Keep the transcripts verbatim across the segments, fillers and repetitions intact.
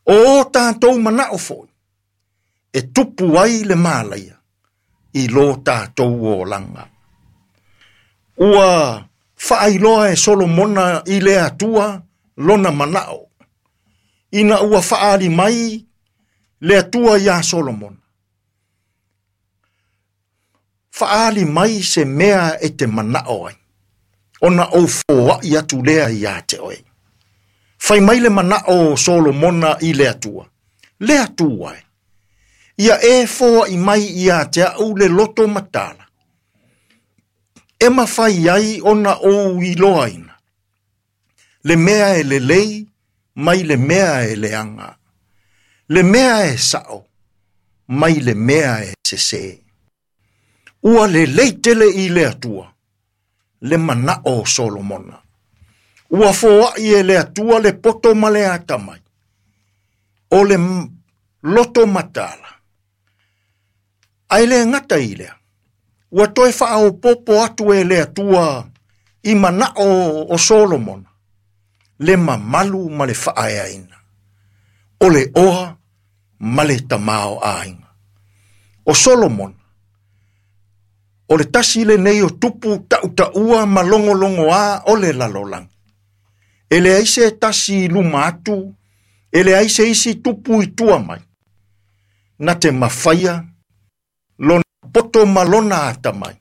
O o tātou manao foi, e tupu ai le malaia, i lo tātou o langa. Ua faailoa e Solomona i le Atua lona manao. Ina ua faali mai le Atua iā Solomona. Faali mai se mea e te manao ai. Ona ou foai atu lea ia te oe. Fai mai le manao o Solomona i le Atua. Le Atua e. Ia e foai mai ia te au le loto matala. E mawhai ai ona ou iloaina. Le mea e lelei, mai le mea e leanga. Le mea e sao, mai le mea e sese. Ua lelei tele i le Atua, le manao o Solomona. Ua foai e le Atua le poto ma le atamai. O le loto matala. Ai le ngata i lea. Ua toe whaopopo atu e le Atua i manao o Solomona. Le mamalu ma le whaaeaina. O le oa ma le tamao ainga. O Solomona, o le tasi le nei o tupu tautaua ma longolongo a o le lalolangi. E le aise tasi i luma atu, e le aise isi tupu i tua mai. Na te mawhaia, lona poto ma lona atamai,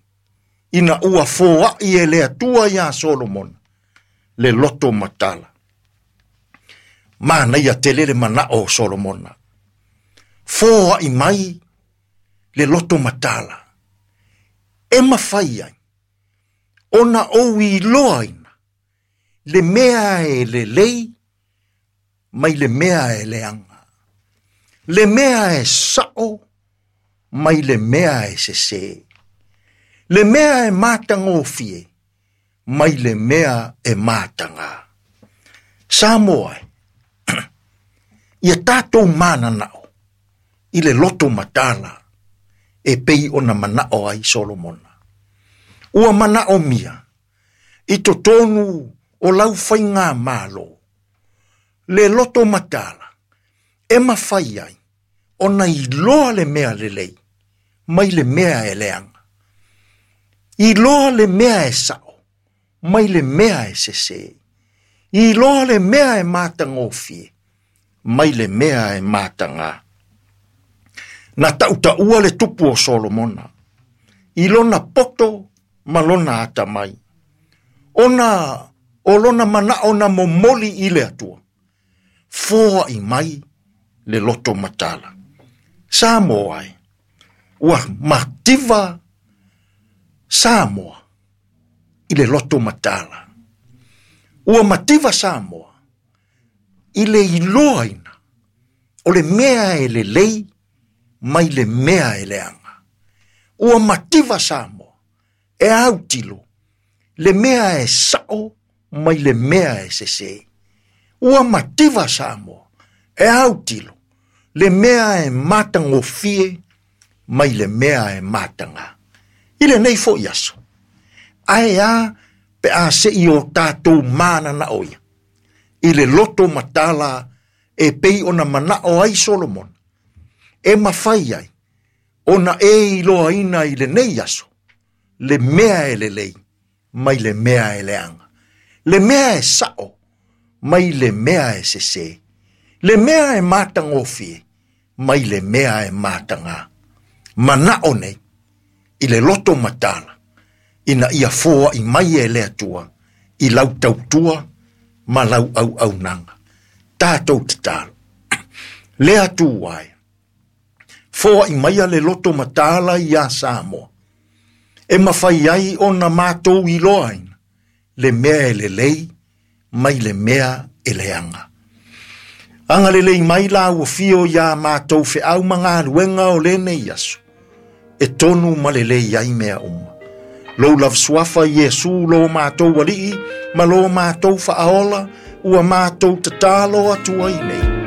ina ua foai e le Atua iā Solomona, le loto matala. Manaia tele le manao o Solomona. Foai mai le loto matala. E mawhai ai, ona ou iloaina, le mea e lelei, mai le mea e leanga. Le mea e sao, mai le mea e sese. Le mea e matagofie, mai le mea e mataga. Samoa e, ia tātou mananao, i le loto matala, e pei ona manao ai Solomona. Ua manao mia, i totonu o lau whainga malo, le loto matala, e mawhai ai, ona iloa le mea lelei, mai le mea e leanga. Iloa le mea e sao, mai le mea e sese. Iloa le mea e matagofie, mai le mea e mataga. Na tautaua le tupu o Solomona, i lona poto ma lona atamai. Ona o lona manao na momoli i le Atua, foai mai le loto matala. Samoa e, ua mativa Samoa i le loto matala. Ua mativa Samoa i le iloaina o le mea e lelei mai le mea e leanga. Ua mativa Samoa e autilo le mea e sao mai le mea e sese. Ua mativa Samoa e autilo le mea e matagofie mai le mea e mataga. I le nei foi aso, ae a pe a se i o tātou mananao ia. I le loto matala e pei ona manao ai Solomona. E mawhai ai, ona e iloaina i le nei aso, le mea e lelei, mai le mea e leanga. Le mea e sao, mai le mea e sese. Le mea e matagofie, mai le mea e mataga. Manao nei, i le loto matala, ina ia foai mai e le Atua, i lau tautua ma lau auaunaga. Tātou tatalo. Le Atua e, foai mai le loto matala iā Samoa. E mawhai ai ona mātou iloaina, le mea e lelei, mai le mea e leanga. Anga lelei mai la ua fio ia mātou wheau mangaluenga o lenei aso. E tonu ma lelei ai mea uma. Lou lava suafa Iesu lo mātou alii, ma lo mātou whaaola, ua mātou tatalo atu ai nei.